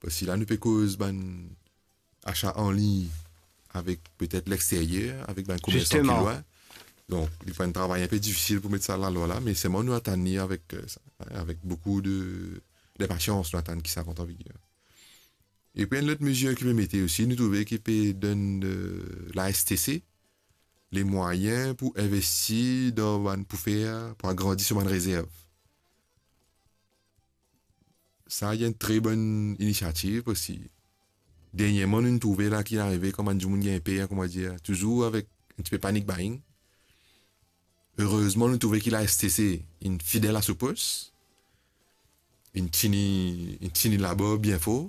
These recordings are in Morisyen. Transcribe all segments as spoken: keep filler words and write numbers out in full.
Si la nou pe koz bann asa an lign avek petet lexteryer, avek bann komersan ki lwin. Donk, li pou enn travay inpe difisil pou met sa lalwa la, me selman nou atann li avek, euh, sa, avek boukou de, de pasians, nou atann ki sa rant an viger. Epi enn lot mezir ki pe mete osi, nou trouve ki pe donn, euh, la S T C lemwayin pou investi dan bann, pou fer, pou agrandi so bann rezerv. Sa, li enn tre bonn inisiativ, parski dernyerman, nou trouve la ki arive, kouma dimoun gagn per, kouma dir, touzour avek enn tipe panic buying. Erezman, nou trouve ki la S T C inn fidel a so pos, inn tini, inn tini labor bien for,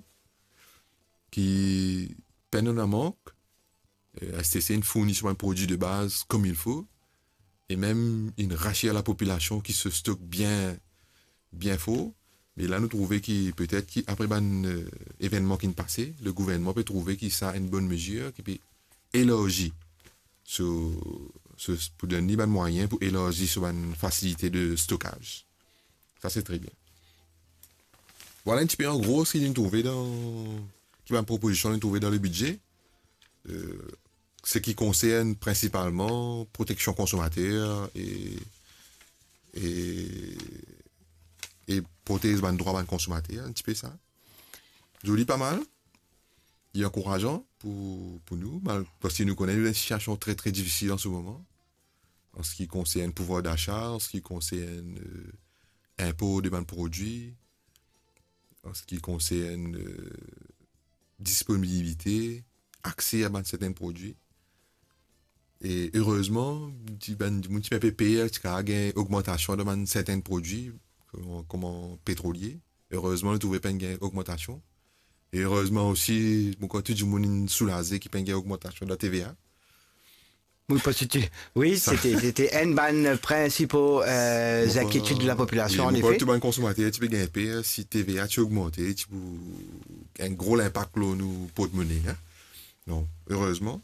ki pena mank, euh, S T C inn fourni so bann prodwi de baz kouma il fo, e mem inn rasir lapopilasion ki so stok bien, bien for. Me la, nou trouve ki petet ki apre bann, euh, evennman ki'nn pase, le gouvernman pe trouve ki sa enn bonn mezir, ki pe elarzi so, so, pou donn li bann mwayin pou elarzi so bann fasilite de stokaz. Sa, se tre bien. Vwala enn tipe an gro seki nou trouve dan, ki bann propozision nou trouve dan le bidze. Euh, seki konsern prinsipalman proteksion konsomater e, e, e protez bann drwa bann konsomater, enn tipe sa. Zoli, pa mal. Li ankourazan pou, pou nou, mal-, parski nou kone nou dan enn sitiasion tre, tre difisil an se moman, an seki konsern pouvwar dasa, an seki konsern, euh, inpor de bann prodwi, an seki konsern, euh, disponibilite, akse a bann sertenn prodwi. E erezman, ti bann dimoun ti pe per, ti kapav gagn ogmantasion dan bann sertenn prodwi, kouma, kouma petrolie. Erezman, nou trouve pa'nn gagn ogmantasion. E erezman osi, mo krwar tou dimoun inn soulaze ki pa'nn gagn ogmantasion dan T V A. Wi, parski ti, wi, sa, se ti, se ti enn bann prinsipo, euh, zenkietid de lapopilasion, an efe. Wi, mo krwar tou bann konsomater ti pe gagn per, si T V A ti ogmante, ti pou enn gro linpak lor nou portmone, hein. Non, erezman.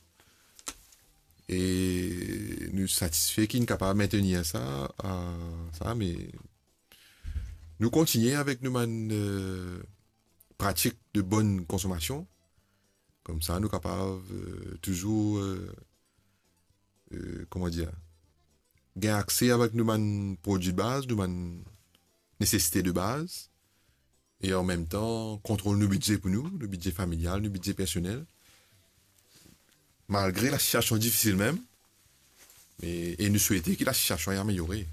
E nou satisfe ki nou kapav mentenir sa, a, sa, me nou kontigne avek nou bann, euh, pratik de bonn konsomasion. Koumsa, nou kapav, euh, touzour, euh, euh, kouma dir, gagn akse avek nou bann prodwi de baz, nou bann nesesite de baz, e an mem tan kontrol nou bidze pou nou, nou bidze familial, nou bidze personel, malgre lasitiasion difisil mem, e, e nou swete ki lasitiasion ameliore.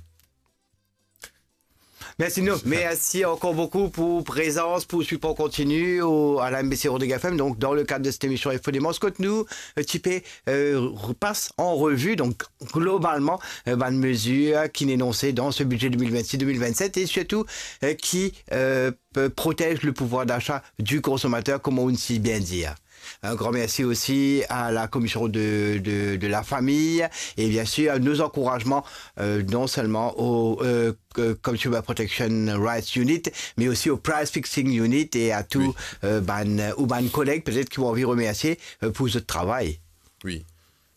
Mersi, nou. Mersi ankor boukou pou prezans, pou sipor kontini ou a la M B C Rodrigue F M. Donk, dan le kad de set emision Info Demanz, kot nou, euh, ti pe, euh, repas an revi, donk, globalman, euh, bann mezir ki'nn anonse dan se bidze de mil vennsis de mil vennset e sirtou, euh, ki, euh, pe protez le pouvwar dasa di konsomater, kouma ou'nn si bien dir. Un grand merci aussi à la commission de, de, de la famille et bien sûr nos encouragements, euh, non seulement au, euh, que-, Consumer Protection Rights Unit, mais aussi au Price Fixing Unit et à tout, euh, bann, ou bann koleg petet ki ou anvi remersie, euh, pou zot travay. Wi.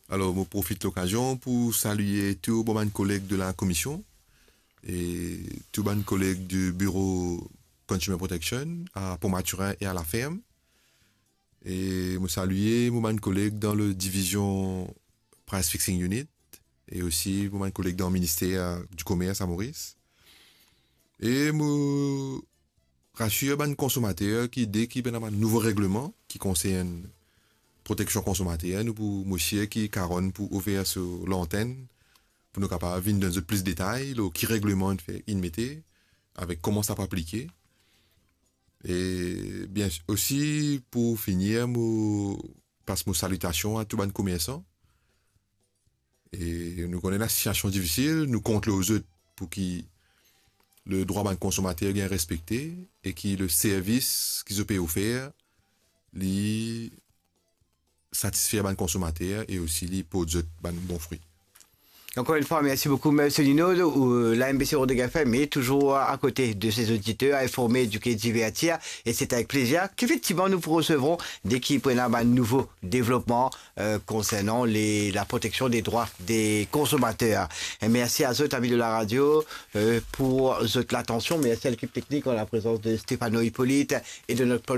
Alor, mo profit lokazion pou salie tou bon bann koleg de la komision e tou bann koleg di biro Consumer Protection a Pont Mathurin e a La Ferme. E mo salie mo bann koleg dan le divizion Price Fixing Unit e osi mo bann koleg dan minister di komers a Moris. E mo rasir bann konsomater ki deki ena bann nouvo regleman ki konsern proteksion konsomater, nou pou, mo sir ki Karonn pou ouver so lantenn pou nou kapav vinn donn zot plis detay lor ki regleman inn fer, inn mete, avek kouma sa pou aplike. E bien osi, pou finir, mo pas mo salitasion a tou bann komersan. E nou kone lasitiasion difisil, nou kont lor zot pou ki ledrwa bann konsomater gagn respekte e ki leservis ki zot pe ofer, li satisfer bann konsomater e osi li port zot bann bon fri. Encore une fois, merci beaucoup, Monsieur Lino. Ou, la M B C Rodrigue F M est toujours à côté de ses auditeurs, informer, éduquer, divertir. Et c'est avec plaisir qu'effectivement nous vous recevrons dès qu'il y a un nouveau développement, euh, concernant les, la protection des droits des consommateurs. Et merci à zot, amis de la radio, euh, pour zot l'attention. Merci à l'équipe technique en la présence de Stéphano Hippolyte et de notre production